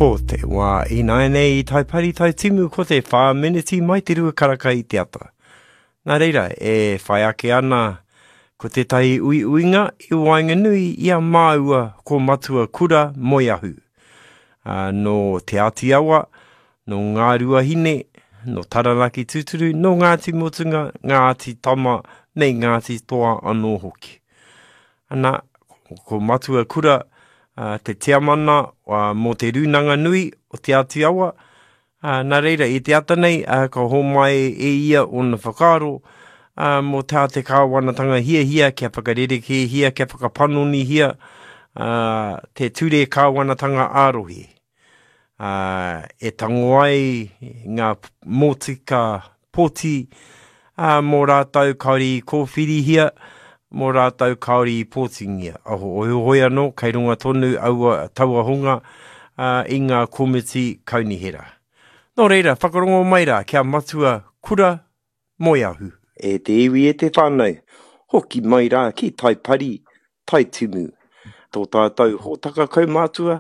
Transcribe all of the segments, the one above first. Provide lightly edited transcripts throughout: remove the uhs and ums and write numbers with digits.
Ko te wā ināianei i Taipari Taitimu ko te 4 meneti mai te rua karaka i te ata. Nā reira, e whai ake ana ko tētahi uiuinga i waenganui i a māua ko Matua Kura Moeahu. Nō Te Āti Awa, nō Ngāruahine, nō Taranaki tūturu, nō Ngāti Mutunga, Ngāti Tama me Ngāti Toa anō hoki. Ana, ko Matua Kura te tiamana mō te Rūnanga Nui o Te Āti Awa, Ā, nā reira, i te ata nei, ā, ka homai e ia ōna whakaaro, ā, mō tā te kāwanatanga hiahia kia whakarerekēhia, kia whakapanonihia, ā, te ture kāwanatanga ā-rohe, ā, e tango ai ngā motika pōti, ā, mō rātou kāore i kōwhirihia, mō rātou kāore i pōtingia. Heoi anō, kei runga tonu aua, taua hunga, ā, i ngā komiti kaunihera. Nō reira, whakarongo mai rā kia matua kura moeahu. E te iwi e te whānau, hoki mai rā ki Taipari, Taitimu. Tō tātou hōtaka kaumātua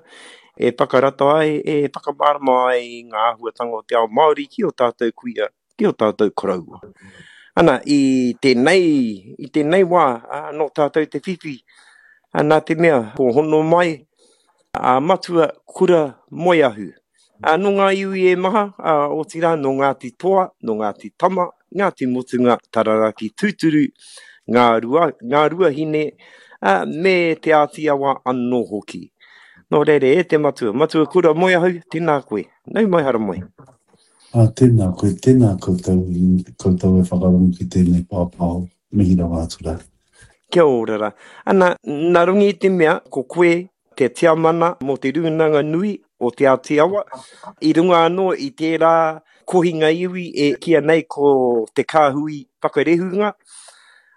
e whakarata ai, e whakamārama ai i ngā āhuatanga o te ao Māori ki ō tātou kuia, ki ō tātou koroua. Ana, i tēnei, i tēnei wā, nō tātou te whiwhi, nā te mea, ko hono mai a Matua Kura Moeahu. Nō ngā iwi e maha, otirā nō Ngāti Toa, nō Ngāti Tama, Ngāti Mutunga, Tararaki Tūturu, Ngā Rua, Ngā Ruahine, ā, me Te Āti Awa anō hoki. Nō reira, e te matua, Matua Kura Moeahu, tēnā koe. Nau mai haramai. Ā, tēnā koe, tēnā koutou, koutou e whakarongo ki tēnei pāpāho, mihi rawa atu rā. Kia ora rā. Ana, nā runga i te mea, ko koe te tiamana mō te Rūnanga Nui o Te Āti Awa, i runga anō i tērā kohinga iwi e kīia nei ko Te Kāhui Whakarehunga.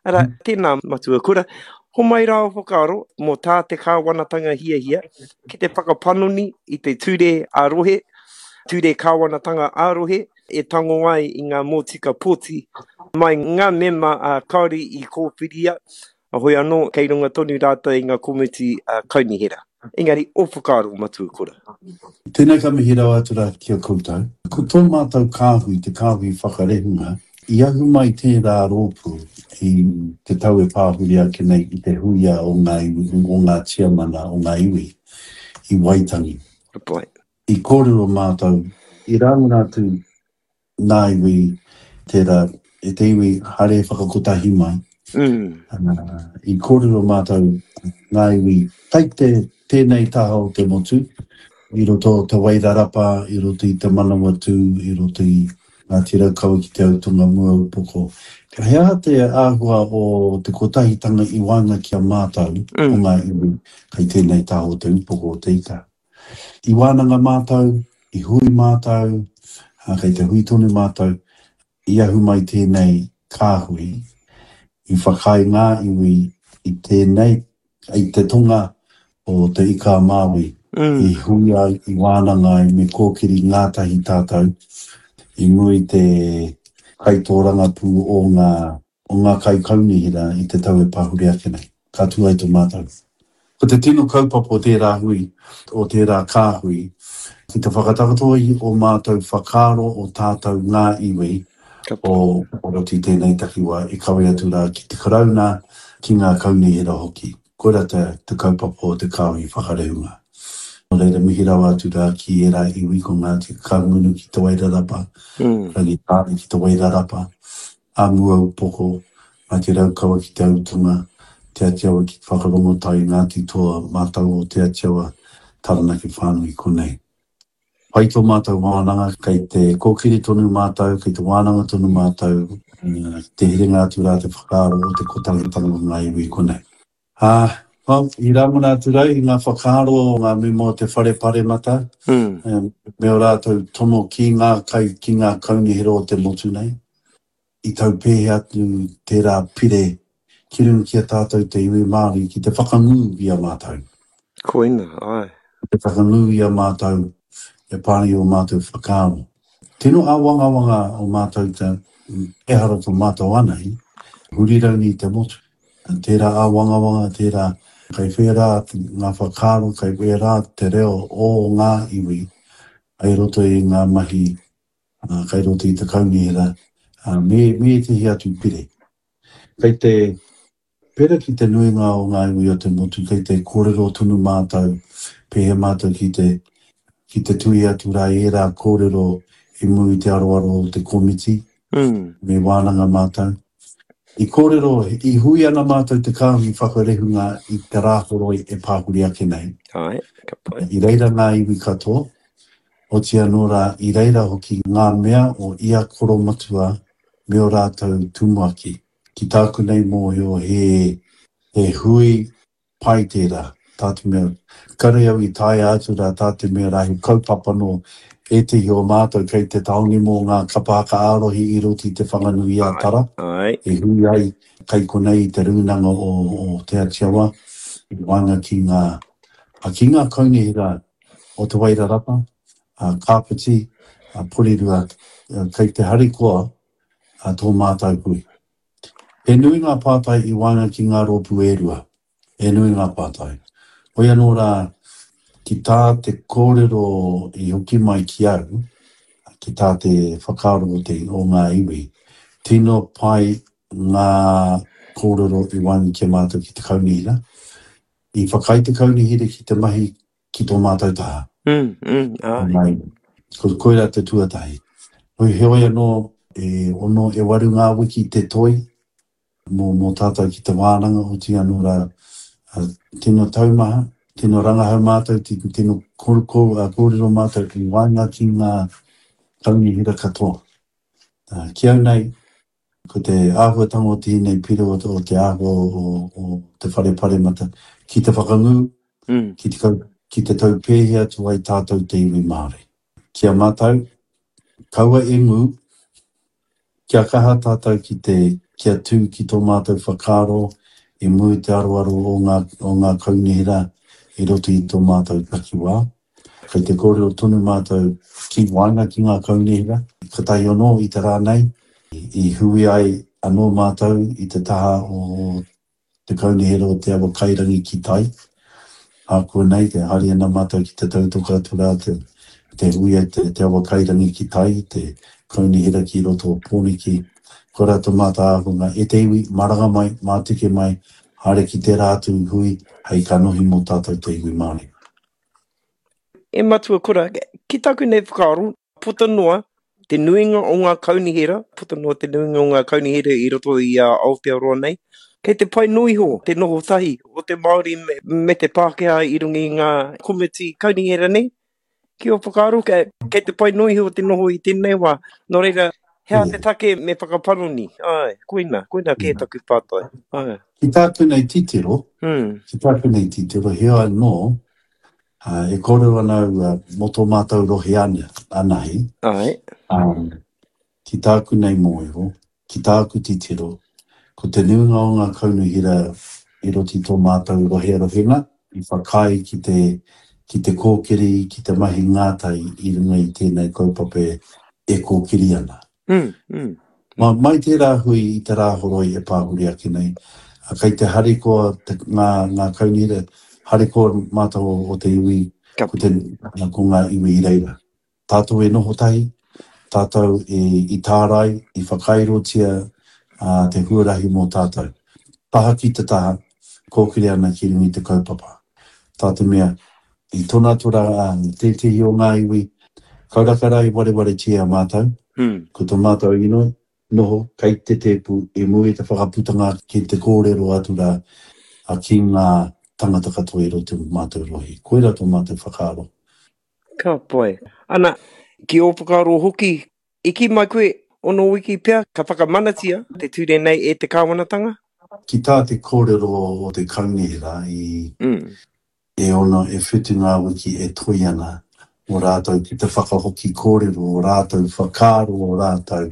Arā, tēnā Matua Kura, homai rā o whakaaro mō tā te kāwanatanga hiahia ki te whakapanoni i te ture ā-rohe, ture kāwanatanga ā-rohe, e tango ai i ngā mōtika pōti mai ngā mema kāore i kōwhiria, Heoi anō, kei runga tonu rātou i ngā komiti kaunihera. Engari, ō whakaaro, Matua Kura. Tēnei ka mihi rawa atu rā ki a koutou. Ko tō mātou kāhui, te kāhui whakarehunga, i ahu mai tērā rōpū i te tau e pāhuri ake nei i te huia o ngā iwi, o ngā tiamana o ngā iwi i Waitangi. Ka pai. I kōrero mātou, i rāngona atu Nā iwi tērā, e te iwi haere whakakotahi mai. I kōrero mātou ngā iwi kai te tēnei taha o te motu, i roto o Te Wairarapa, i roto i Te Manawatū, i roto i Ngāti Raukawa ki Te Autonga Muaupoko. He aha te āhua o te kotahitanga i waenga ki a mātou o ngā iwi kai tēnei taha o te upoko o te ika? I wānanga mātou, i hui mātou, ā, kei te hui tonu mātou, i ahu mai tēnei kāhui, i whakaae ngā iwi i tēnei, i te tonga o Te Ika-a-Māui, i hui ai, i wānanga ai, me kōkiri ngātahi tātou i mua i te kaitōrangapū o ngā o ngā kaikaunihera i te tau e pahure ake nei. Ka tū ai tō mātou. Ko te tino kaupapa o tērā hui, o tērā kāhui, ki te whakatakoto i ō mātou whakaaro o tātou ngā iwi o roto i tēnei takiwā i kawe atu rā ki te Karauna, ki ngā kaunihera hoki. Koirā te, te kaupapa o te kāhui whakarehunga. Nō reira, mihi rawa atu rā ki ērā iwi ko Ngāti Kahungunu ki Te Wairarapa, Rangitāne ki Te Wairarapa, a Muaupoko, Ngāti Raukawa ki Te Autunga, Te Atiawa ki Te Whakarongotai, Ngāti Toa, mātou o Te Atiawa, Taranaki whānui konei. Pai tō mātou wānanga, kei te kōkiri tonu mātou, kei te wānanga tonu mātou, te herenga atu rā te whakaaro o te kotahitanga o ngā iwi konei. Ā, well, i rangona atu rau i ngā whakaaro o ngā mema o te Whare Paremata, me ō rātou tono ki ngā kai, ki ngā kaunihera o te motu nei. I tau pēhea atu tērā pire ki runga ki a tātou te iwi Māori ki te whakangū i a mātou. Koina, āe. Ki te whakangū i a mātou e pā ana i ō mātou whakaaro. Tino āwangawanga o mātou te, ehara tō mātou anahi, huri rauni i te motu. Tērā āwangawanga, tērā kei whērā ngā whakaaro, kei wērā te reo o ngā iwi. I roto i ngā mahi kai roto i te kaunihera me, me ētehi atu pire. Kei te pera ki te nuinga o ngā iwi o te motu, kei te kōrero tonu mātou, pēhea mātou ki te, ki te tuhi atu rā i ērā kōrero i mua i te aroaro o te komiti, me wānanga mātou. I kōrero, i hui ana mātou te kāhui whakarehunga i te Rāhoroi e pāhuri ake nei. Āe, ka pai. I reira ngā iwi katoa, oti anō rā, i reira hoki ngā mea o ia koromatua me ō rātou tumuaki. Ki tāku nei mōhio he, he hui Pai tērā, tā te mea, kare au i taea atu rā tā te mea rā he kaupapa nō ētehi o mātou kei te tāone mō ngā kapa haka ā-rohe i roto i Te Whanganui-a-Tara, e hui ai kei konei i te rūnanga o, o Te Atiawa, i waenga ki ngā, ki ngā kaunihera o Te Wairarapa, Kāpiti, Porirua, kei te harikoa tō mātou hui. He nui ngā pātai i waenga ki ngā rōpū e rua. He nui ngā pātai. Hoi anō rā, ki tā te kōrero i hoki mai ki au, ki tā te whakaaro o te, o ngā iwi, tino pai ngā kōrero i waenga ki a mātou ki te kaunihera. I whakaae te kaunihera ki te mahi ki tō mātou taha. Mm, mm, āe. Ko, koirā te tuatahi. Hoi, heoi anō, e ono, e waru ngā wiki te toi mō, mō tātou ki te wānanga, oti anō rā, tino taumaha, tino rangahau mātou, tino kōrero mātou i waenga ki ngā kaunihera katoa. Ki au nei, Ko te āhuatanga o tēnei pire o te āhua o te whare paremata ki te whakangū, ki te ki te taupēhi atu ai tātou te iwi Māori. Ki a mātou, kaua e ngū, kia kaha tātou ki te, kia tū ki tō mātou whakaaro i mua i te aroaro o ngā, o ngā kaunihera i roto i tō mātou takiwā. Kei te kōrero tonu mātou ki waenga ki ngā kaunihera. Kotahi anō i te rā nei, i hui ai anō mātou i te taha o te kaunihera o Te Awa Kairangi ki tai. Ākuanei, e haere ana mātou ki te tautoko atu rā te, te hui a te, Te Awa Kairangi ki tai, te kaunihera ki roto o Pōneke. Koirā tō mātou ākonga, e te iwi, maranga mai, mātike mai, haere ki tērā atu hui hei kanohi mō tātou te iwi Māori. E Matua Kura, ki taku nei whakaaro, puta noa te nuinga o ngā kaunihera, puta noa te nuinga o ngā kaunihera i roto i a Aotearoa nei, kei te pai noa iho te noho tahi o te Māori me, me te Pākehā i runga i ngā komiti kaunihera nei. Ki ō whakaaro, kei, kei te pai noa iho te noho i tēnei wā. Nō reira, he aha te take me whakapanoni? Āe, koina, koina kē taku pātai. Āe. Ki tāku nei titiro, ki tāku nei titiro, heoi anō, e kōrero ana au mō tō mātou rohe anahe, Āe. ki tāku nei mōhio, ki tāku titiro, ko te nuinga o ngā kaunihera i roto i tō mātou rohe rohenga, i whakaae ki te, ki te kōkiri, ki te mahi ngātahi i runga i tēnei kaupapa e kōkiri ana. Mm, mm. Ma, mai tērā hui i te Rāhoroi e pāhuri ake nei, kei te harikoa te, ngā, ngā kaunihera, harikoa mātou o, o te iwi, Ka ko, te, ko ngā iwi i reira. Tātou e noho tahi, tātou e, i tārai, i whakairotia ā, te huarahi mō tātou. Taha ki te taha, kōkiri ana ki runga i te kaupapa. Tā te mea, i tona atu rā tētehi o ngā iwi, kauraka rā i warewaretia a mātou, ko tō mātou inoi, noho kei te tēpu i mua i te whakaputanga ki te kōrero atu rā ki ngā tangata katoa i roto i mātou rohe. Koirā tō mātou whakaaro. Ka pai. Ana, ki ō whakaaro hoki, I kī mai koe, ono wiki pea ka whakamanatia te ture nei e te kāwanatanga? Ki tā te kōrero o te kaunihera i e ono, e whitu ngā wiki e toi ana mō rātou ki te whakahoki kōrero o rātou whakaaro o rātou,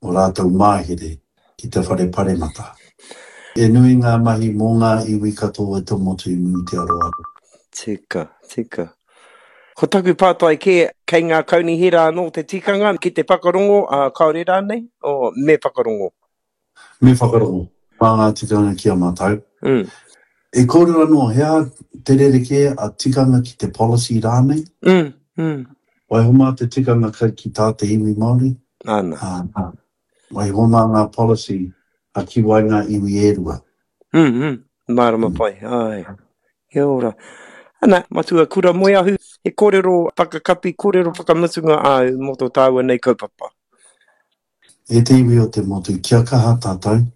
o rātou māhere ki te whare paremata. E nui ngā mahi mō ngā iwi katoa o te motu i muri te aroaro. Tika, tika. Ko taku pātai kē, kei ngā kaunihera anō te tikanga ki te whakarongo, ā, kāore rānei? O, me whakarongo. Me whakarongo. Mā ngā tikanga ki a mātou. Mm. E kōrero anō, he aha te rerekē a tikanga ki te policy rānei? Mm, mm. Waiho mā te tikanga kai ki tā te iwi Māori, Ana. ā, waiho mā ngā policy a ki wai ngā iwi e rua. Mm, mm, mārama pai, āe. Kia ora. Ana, Matua Kura Moeahu, he kōrero whakakapi, kōrero whakamutunga āu mō tō tāua nei kaupapa. E te iwi o te motu, kia kaha tātou,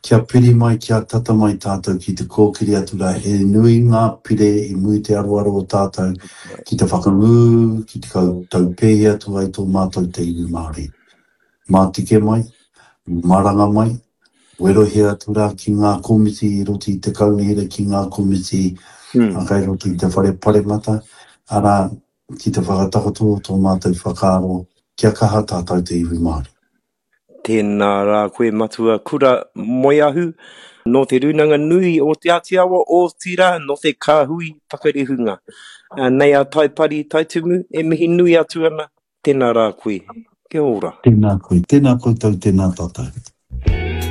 kia piri mai, kia tata mai tātou ki te kōkiri atu rā, he nui ngā pire i muri te aroaro o tātou ki te whakangū, ki te taupēhi atu ai tō mātou te iwi Māori. Mātike mai, maranga mai, werohia atu rā ki ngā komiti i roto i te kaunihera, ki ngā komiti kai roto i te whare paremata, arā, ki te whakatakoto o tō mātou whakaaro kia kaha tātou te iwi Māori. Tēnā rā koe Matua Kura Moeahu, nō Te Rūnanga Nui o Te Āti Awa, otirā nō te Kāhui Whakarihunga. Nei a Taipari Taitumu e mihi nui atu ana, tēnā rā koe. Kia ora. Tēnā koe, tēnā koutou, tēnā tātou.